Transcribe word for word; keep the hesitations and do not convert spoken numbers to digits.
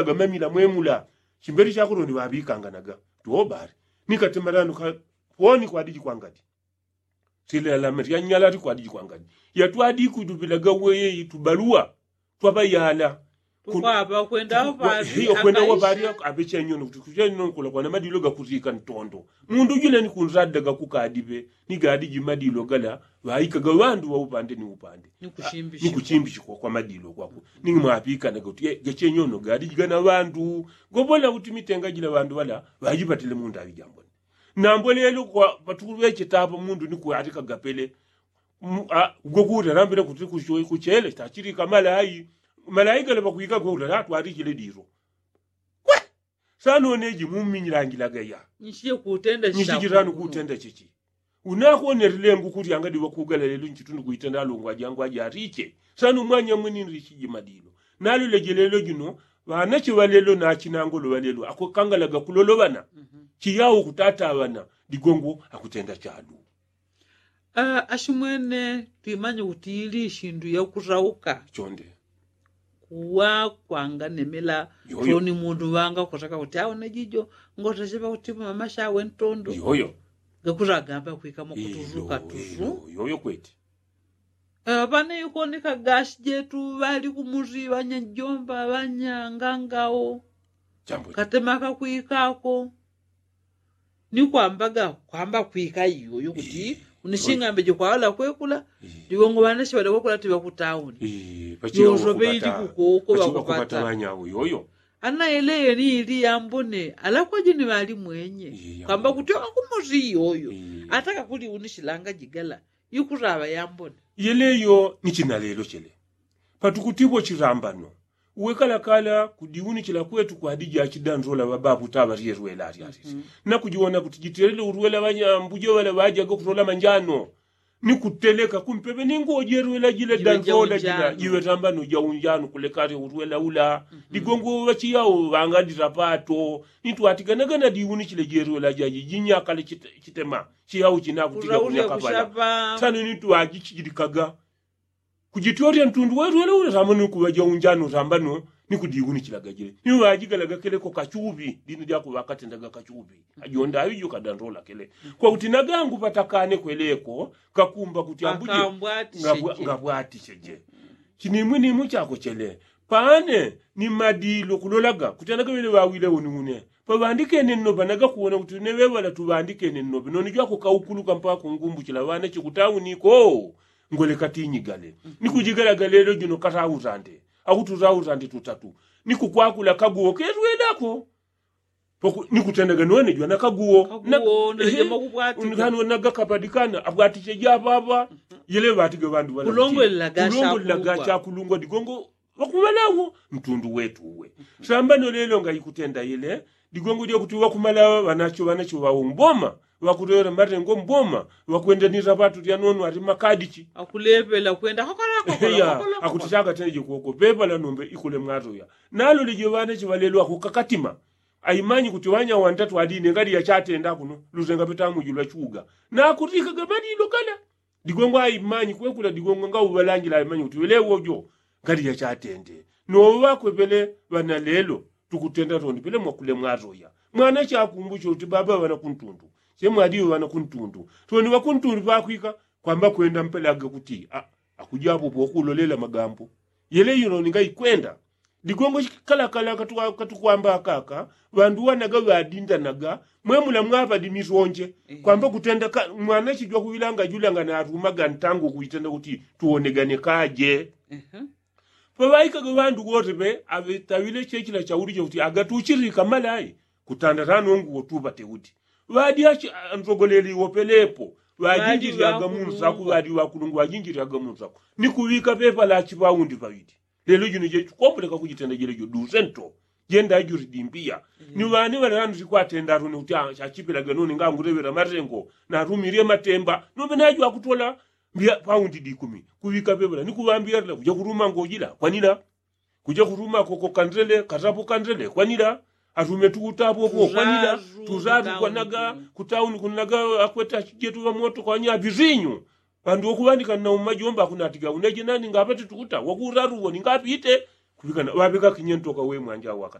gamamila mwemula. Chimbeli chakolo ni ŵaŵikanganaga. Tuobali nikatema lano ka poni kwadiji kwangadi. Silelame lyanyala likwadi jikwangadi. Yatwadi kudupila gaweyeyi tubaluwa twaŵayala. Tukwapa kwenda wapali aŵechenyono kuti kuchenyono kulakwana madilo gakutika ntondo. Mundu jule ni kunzadda gakukadiŵe ni gadi jimadilo gala ŵaikaga ŵandu ŵaupande ni upande. Ni kuchimbichikwa kwa madilo kwaku ni mwapikanaga kuti gachenyono gadi jigana ŵandu. Gobola kuti mitenga jila ŵandu ŵala ŵajipatile mundaŵi jambone. Nambo lelo kwa patukuŵecheta apa mundu ni kuatika gapele. Gwokuta nambile kuti kuchele tachilika malayi. Malayi gale pakwika gwokuta atwalichile dilo. Kwe sano neji muminyilangila gaya. Nchijilano kutenda chichi. Unakonelile ngukulyanga diŵakugala lelo nchitundu kuitenda alongwa jangwa jariche. Sano mwanyamwe ninrichiji madilo. Nalule jilelo jino ŵanache ŵalelo nachinangolo ŵalelo akukangalaga kuloloŵana. Chiyao kutataŵana. Digongo akutenda chalu. Ashimwene twimanye kuti ili ishindu yakurauka. Chonde. Kuwa kwanganemela. Toni mundu ŵanga kutaka kuti aone jijo ngotacheŵa kuti mama shawe ntondo. Yoyo. Gakuragamba kwikamo kutuzuka tuzu. Yoyo kweti. Ŵane yukoneka gashi jetu ŵali kumusi ŵanyajomba ŵanyangangao. Katemaka kwikako. Ni kwambaga kwamba kwika iyoyo kuti unishingambeje kwawala kwekula. Digongo ŵanashi ŵale kwekula tiŵa kutauni. Yosopeji kukoko ŵakupata ŵanyawo yoyo. Ana yeleyo ni ili yambone alakwaji ni ŵali mwenye kwamba kuti wakumusi iyoyo. Ataka kuli unishilanga jigala. Ikutaŵa yambone. Yeleyo ni chinalelo chele. Patukutivo chilambano. Uwe kalakala kudiunichila kwetu kwadija chidandola ŵababu taŵa lyelwela alyalili. Nakujiwona kuti jitelele ulwela ŵanyambuje ŵala ŵajaga kutola manjano. Ni kuteleka kumpeŵe ni ngojelwela jile dandola jila jiŵe tambano jaunjano kulekale ulwela ula. Digongo ŵachiyao ŵangadila pato ni twatiganaga na diunichile jelwela jaji jinyakale chitema. Chiyao chinakutiga kunyakapala. Sano ni twajichijilikaga. Kujitolya ntundu welwele ule sambano ni kuŵa jaunjano sambano. Ni kudiunichilaga jile ni ŵajigalaga keleko kachuŵi dini dyakuŵa katendaga kachuŵi. Ajonda aŵijo kadandola kele kwakuti nagangu patakane kweleko kakumba kuti ambuje ngabwaticheje. Chinimwinimwi chako chele. Pane ni madilo kulolaga kuti anagaŵele ŵawile uniune paŵandikene nnopa nagakuwona kuti une ŵeŵala tuŵandikene nnope noni jwakukaukuluka mpaka kungumbuchila ŵanache kutauni ko. Ngole katinyigale ni kujigalaga lelo jino katautande. Akututautande tutatu ni kukwakula kaguwo kelwelako. Ni kutendaga none jwana kaguwo. Nagakapadikana abwatiche jaŵaŵa. Yele ŵatiga ŵandu ŵalongolelaga chakulungwa digongo ŵakuŵalawo ntundu wetu uwe. Sambano lelo ngaikutenda ile digongo dyakuti ŵakumalaŵa ŵanacho ŵanacho ŵawo mboma. Ŵakutoyela matengo mboma ŵakwendanila ŵatu lyanono ati makadichi. Akulepela kwenda. Akuti chakatendeje koko pepala nombe ikule mwatoya. Naloleje ŵanacho ŵalelo akukakatima. Aimanyi kuti ŵanya wantatu aline ngadi yachatenda kuno lusenga petamu jilwa chuga. Nakutikaga madilo gala. Digongo aimanyi kwekula digongo ngauŵalangila aimanyi kuti ŵelewo jo. Ngadi yachatende noŵakwepele ŵana lelo. Tukutenda toni pele mwakule mwatoya. Mwana chakumbucho kuti baba ŵana kuntundu chemwadiwe ŵana kuntundu. Toni ŵakuntundu pakwika kwamba kwenda mpelaga kuti akujapo pokulolela magambo. Yele yuno ninga ikwenda. Digongo kalakala katukwamba akaka ŵandu wanaga ŵadindanaga. Mwemula mwapadi misonje kwamba kutenda mwana chijwa kuŵilanga julanga narumaga ntangu kuitenda kuti tuwonegane kaje. Paŵaikaga ŵandu wote ŵe aŵetaŵile chechila chaulija kuti agatuchilika malayi. Kutanda tanongu wotuŵate kuti ŵadi achi anzogoleli wopelepo. Ŵajinjilyaga munsaku ŵadi ŵakulungu ŵajinjilyaga munsaku ni kuŵika pepa lachi ŵaundi ŵaŵili. Lelo jino jechukombuleka kujitenda jelejo duse nto. Jenda juli dimbiya ni ŵani ŵalelano sikwatenda atone kuti achachipilaga noni nganguleŵela matengo. Natumilye matemba nombe najo akutola mbiya paundi dikumi kuŵika peŵela ni kuŵambiyalila kuja kutuma ngojila kwanila. Kuja kutuma koko kandele katapu kandele kwanila. Atume tuutapu opo kwanila. Tuzatu kwanaga kutauni kunaga akweta chijetu ŵamoto kwanya apisinyu. Pandu wokuŵandika nna umajomba akunatiga uneje nani ngapati tuuta wakuutapu uwo ningapite. Kuŵikana ŵaŵeka kinyentoka we mwanja wakata.